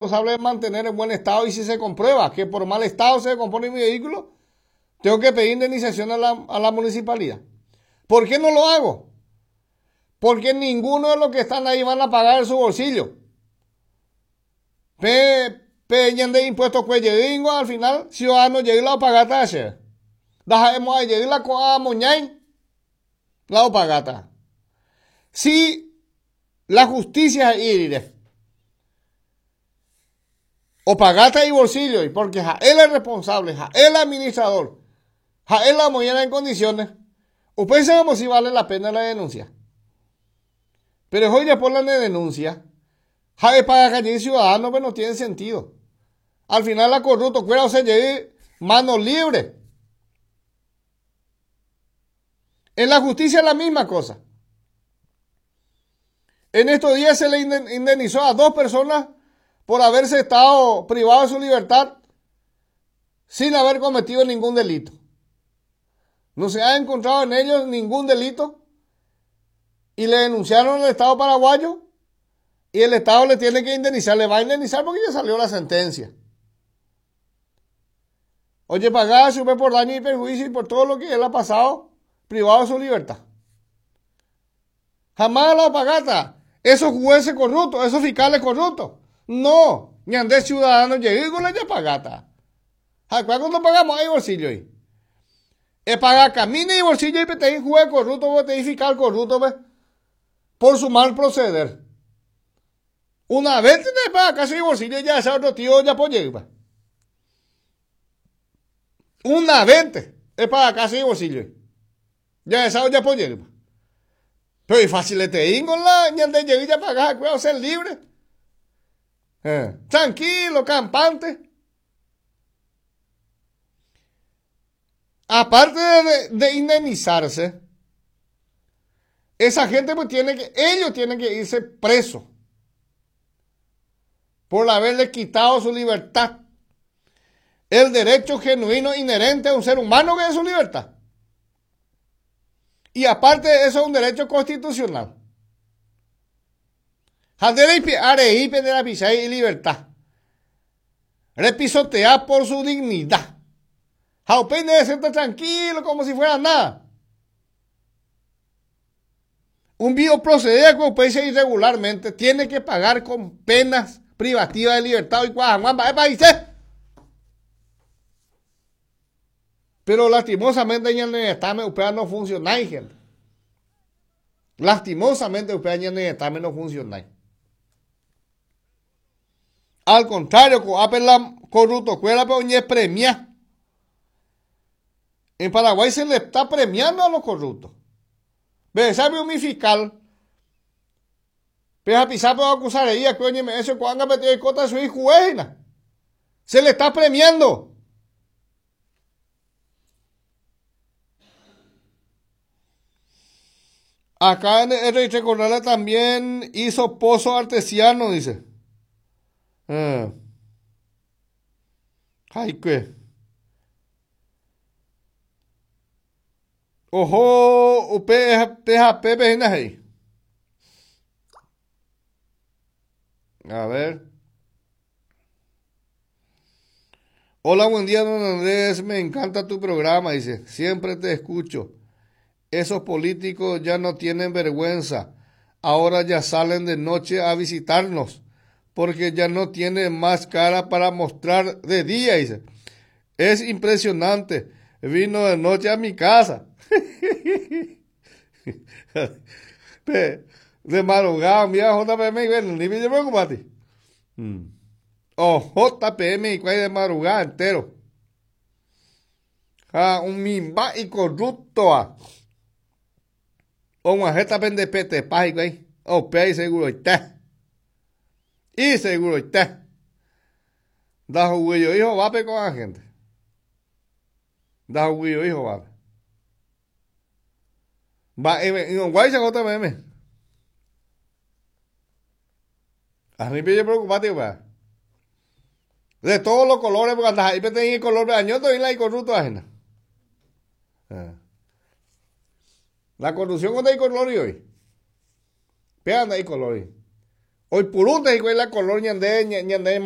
responsable de mantener en buen estado y si se comprueba que por mal estado se descompone mi vehículo, tengo que pedir indemnización a la, a la municipalidad. ¿Por qué no lo hago? Porque ninguno de los que están ahí van a pagar su bolsillo. Pe, pe ñande impuesto cuello al final, ciudadano llega la pagata ayer. Dajemos a llegar la coa moñay, la pagata. Si la justicia irire, o pagata y bolsillo, y porque ja, él es responsable, ja, él es administrador, ja, él la mañana en condiciones, ustedes saben si vale la pena la denuncia. Pero hoy ya por la denuncia, ja, paga calle ciudadano, pero no tiene sentido. Al final la corrupto, cuera o se lleve mano libre. En la justicia es la misma cosa. En estos días se le indemnizó a dos personas por haberse estado privado de su libertad sin haber cometido ningún delito. No se ha encontrado en ellos ningún delito y le denunciaron al Estado paraguayo y el Estado le tiene que indemnizar. Le va a indemnizar porque ya salió la sentencia. Oye, pagaba su por daño y perjuicio y por todo lo que él ha pasado privado de su libertad. Jamás la pagata. Esos jueces corruptos, esos fiscales corruptos. No, ni andé ciudadano llegué con la pagata. ¿Cuándo pagamos ahí bolsillo ahí? Es pagar camino y bolsillo y te juez corrupto, te fiscal corrupto, por su mal proceder. Una vez te paga casi bolsillo ya ese otro tío ya puede llegar. Una vez es para casi bolsillo. Ya esa ya puede llegar. Pero es fácil te ingo la ñande llegar ya pagar, cuidado ser libre. Tranquilo, campante. Aparte de, de indemnizarse, esa gente pues tiene que, ellos tienen que irse presos por haberle quitado su libertad. El derecho genuino inherente a un ser humano que es su libertad. Y aparte de eso es un derecho constitucional. y libertad. Repisotea por su dignidad. Jaupén debe ser tranquilo como si fuera nada. Un vivo proceder con países irregularmente tiene que pagar con penas privativas de libertad y países. Pero lastimosamente en el Estado usted no funciona, gente. Lastimosamente usted en el Estado no funciona. Al contrario, la corrupto cuela pero premia. En Paraguay se le está premiando a los corruptos. Ve, sabe mi fiscal. Pero a pisar por acusar a ella, coño, eso cuando metido cota su hijo, Se le está premiando. Acá en el R. Corrales también hizo pozo artesiano, dice. Ah. Ay, qué. Ojo, U P P H P P N ahí. A ver. Hola, buen día, don Andrés. Me encanta tu programa, dice. Siempre te escucho. Esos políticos ya no tienen vergüenza. Ahora ya salen de noche a visitarnos porque ya no tienen más cara para mostrar de día, dice. Es impresionante. Vino de noche a mi casa. De madrugada, mira, JPM, bueno, ni me preocupate. O JPM y cuál de madrugada entero. Ah, un mimba y corrupto. Ah. O una jeta pende pete pa y güey. O pe y seguro está. Y seguro está. Da juguillo hijo, va pe con la gente. Da juguillo hijo, va. Va, y un guay se JPM. A mí me preocupate, güey. De todos los colores, porque hasta ahí tenía el color de añoto y la corrupto ajena. Ah. La corrupción cuando hay color hoy. Vean ahí color. Oipurúnte hikuái la color ñande ñande.